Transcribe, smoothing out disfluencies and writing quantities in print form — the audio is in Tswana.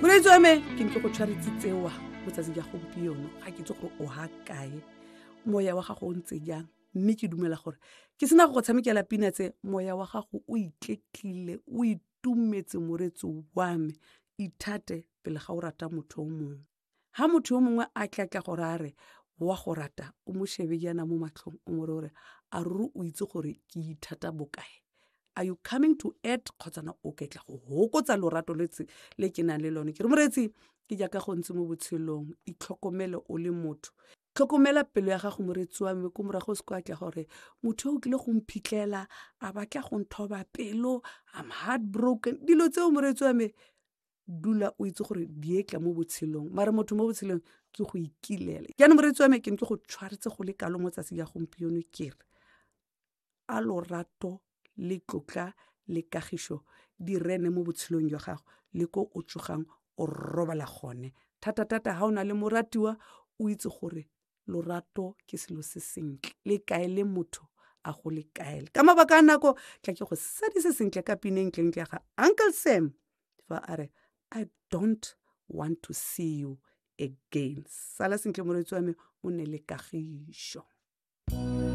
Moreetsi wa me, ke nke go tshwaretse tsewa mo tsatsing ja gompieno. Ga ke itse gore o ha kae, moya wa gago o ntse jang, mme ke dumela gore ke sena go go tshamekela pina tse, moya wa gago o itletlile, o itumetse. Moreetsi wa me, ithate pele ga o rata motho o mongwe. Ha motho yo mongwe a tlatla gore a re wa go rata, o mo shebe jaana mo matlhong, o mo re gore a ruri o itse gore ke ithata bokae. Are you coming to add kgotsana o ketla go hokotsa lorato le ke nang le lone? Ke re moreetsi, ke jaaka go ntse mo botshelong, itlhokomele o le motho, tlhokomela pelo ya gago, moreetsi wa me. Ko morago o se kwa tla gore motho o tlile go mphitlhela a batla go nthoba pelo, I'm heartbroken, dilo tseo. Moreetsi wa me, dula o itse gore di etla mo botshelong, mare motho mo botshelong ke go ikilela. Jaanong moreetsi wa me, ke ne ke go tshwaretse go le kalo mo tsatsi ya gompieno. Ke re a lorato le tlotla le kagišo di rene mo botshelong jwa gago le ko o tsogang o robala gone, thata-thata ga o na le moratiwa. O itse gore lorato ke selo se sentle, le kaele motho a go le kaele. Ka mabaka a nako, tla ke go sadise sentle ka pineng ntlentle ya ga Uncle Sam fa a re, "I don't want to see you again." Sala sentle, moreetsi wa me, o nne le kagišo.